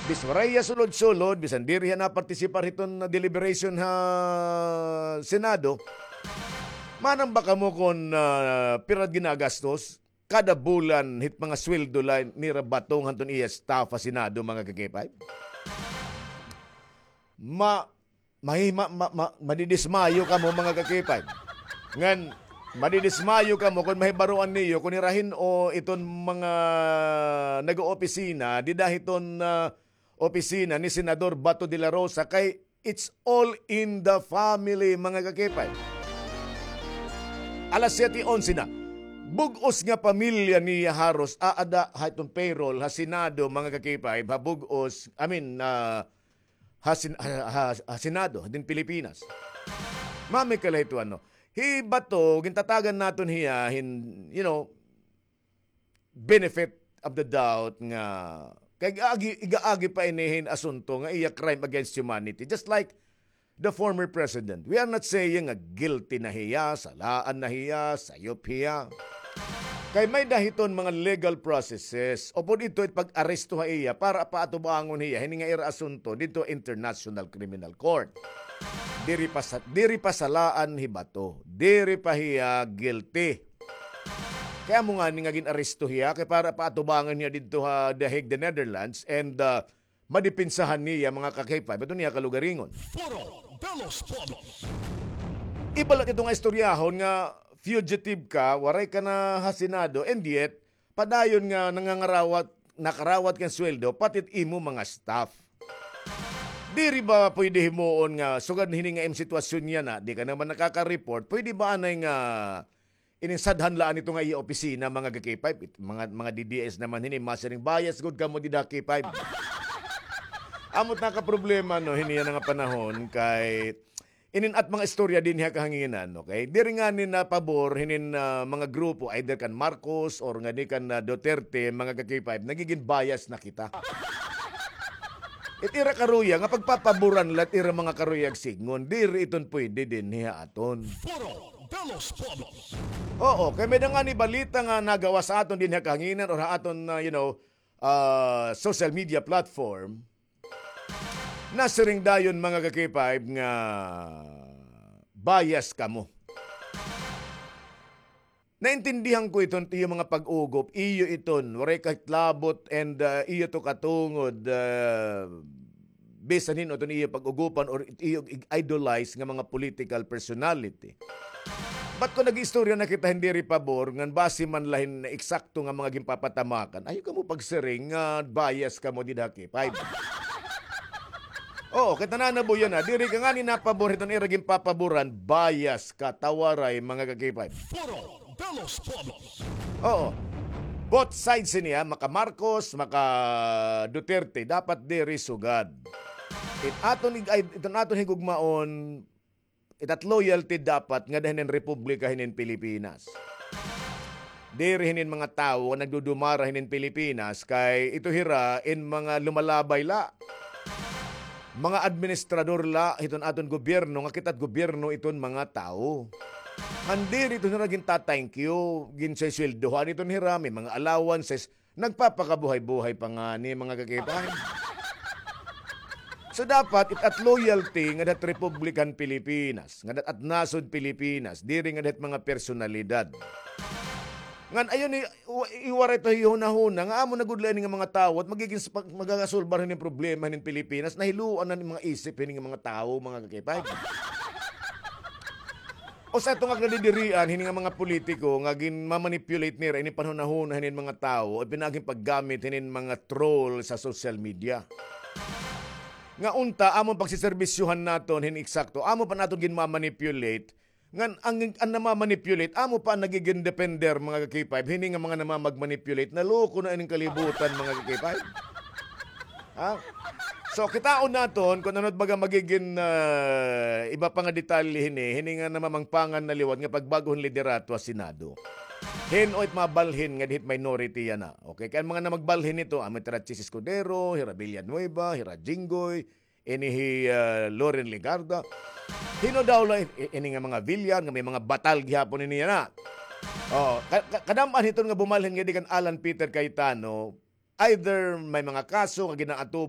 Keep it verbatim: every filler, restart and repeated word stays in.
Biswaray ha sulod-sulod, bisan diri hiya napartisipar hiton deliberation ha Senado, manambak kamo kon, ah, pira it ginagastos kada bulan hit mga sweldo la nira Bato ngan hiton iya staff ha Senado, mga ka-K five? Ma-, mahi-, ma-, ma-, ma-, madidismayo kamo, mga ka-K five. Ngan, madidismayo kamo kon mahibaroan niyo kon hira hin-o iton mga nag-oopisina dida hiton, ah, opisina ni Senador Bato de la Rosa, kay it's all in the family, mga ka-K five. Alas siyete onse na. Bug-os nga pamilya niya haros aada ha iton payroll ha Senado, mga ka-K five, ha bug-os, I mean, ah, ha, Sen-, ha, ha, ha Senado din Pilipinas. Mami kala ito, ano, hi Bato, gintatagan naton hiya hin, you know, benefit of the doubt nga kay igaagi, igaagi pa ini hin asunto nga iya crime against humanity. Just like the former president. We are not saying nga guilty na hiya, salaan na hiya, sayop hiya. Kay may-ada hiton mga legal processes. Upod ito it pag-aresto ha iya para paatubangon hiya hini nga ira asunto didto International Criminal Court. Diri pa sa, diri pa salaan hi Bato. Diri pa hiya guilty. Kay amo ngani nga gin-aresto hiya kay para paatubangan hiya didto ha The Hague, the Netherlands, and, ah, madipinsahan niya mga ka-K five. Ito niya kalugaringon. Foro de los Pueblos. Iba la ito nga istoryahon nga fugitive ka, waray ka na ha Senado, and yet, padayon nga nangangarawat, nakarawat kan sweldo, pati it imo mga staff. Diri ba pwede himuon nga sugad hini nga im sitwasyon yana, di ka naman nakaka-report, pwede ba anay nga ininsadhan laan ito nga iya opisina, mga ka-K five, it-, mga, mga D D S naman hini, masiring, bias gud kamo dida K five. Amo it nakaproblema, no, hini yana nga panahon kay inin at mga istorya dinhi ha kahanginan, okay? Diri ngani napabor hinin, ah, mga grupo, either kan Marcos or ngani kan, ah, Duterte, mga ka-K five, nagigin bias na kita. It ira karuyag nga pagpapaboran la it ira mga karuyag sidngon, diri iton pwede dinhi ha aton. Foro de los Pueblos. Oo, kay may-ada ngani balita nga nagawas ha aton dinhi ha kahanginan or ha aton, ah, you know, ah, social media platform. Nasiring dayon, mga ka-K five, nga bias kamo. Naintindihan ko iton iyo mga pag-ugop, iyo iton, waray kahitlabot, and, ah, iyo to katungod, ah, bisan hin-o iton iyo pag-ugupan or it-, iyo ig-idolize nga mga political personality. But kon nag-istorya na kita hin diri pabor, ngan basi man la hin eksakto nga mga ginpapatamakan, ayaw kamo pagsiring nga bias kamo dida K five. Oo, kay tanan na buya na, diri ka ngani napabor hiton ira ginpapaboran, bias ka, ta waray, mga ka-K five. Foro de los Pueblos. Oo. Both sides ini, ha, maka Marcos, maka Duterte, dapat diri sugad. It aton ig-, ay, iton aton higugmaon, it at loyalty dapat ngada hinin republika hinin Pilipinas. Diri hinin mga tawo nga nagdudumara hinin Pilipinas kay ito hira in mga lumalabay la. Mga administrador la hiton aton gobyerno nga kita it gobyerno iton mga tawo. Ngan diri ito hira ginta-thank you, ginswesweldohan ito hira, may mga allowances. Nagpapakabuhay-buhay pa ngani, mga ka-K five. So, dapat it at loyalty ngada hit Republika han Pilipinas, ngada hit at nasod Pilipinas, diri ngada hit mga personalidad. Ngan ayon ni, wa-, iwaray ta hihunahuna nga amo na gud la ini nga mga tawo it magigin s-, pag-, magagasolbar hinin problema hinin Pilipinas, nahiluan na ni mga isip hini nga mga tawo, mga ka-K five. Usa ito nga kadidirian hini nga mga politiko nga ginma-manipulate nira ini panhunahuna hinin mga tawo, pinaagi hin paggamit hinin mga troll sa social media. Nga unta, amon pagsiserbisyohan naton hin eksakto, amo pa naton ginma-manipulate, ngan ang, ang nama-manipulate, amo pa an nagigin defender, mga ka-K five, hini nga mga namamag-manipulate, naloko na ining kalibutan, mga ka-K five. Ha? So, kitaon naton kon ano it baga magigin, ah, iba pa nga detalye hini, hini nga namamangpangan na liwat nga pagbag-o hin liderato ha Senado. Hin-o it mabalhin nga dihit minority yana. Okay, kay an mga namagbalhin hito, amo hira Chiz Escudero, hira Villanueva, hira Jinggoy, ini hi, ah, Loren Legarda. Hin-o daw la i-, i-, ini nga mga Villar nga may mga batal gihapon ini yana. Oh, ka-, ka-, kadam-an hiton nga bumalhin ngadi kan Alan Peter Cayetano, either may mga kaso nga ginaatubang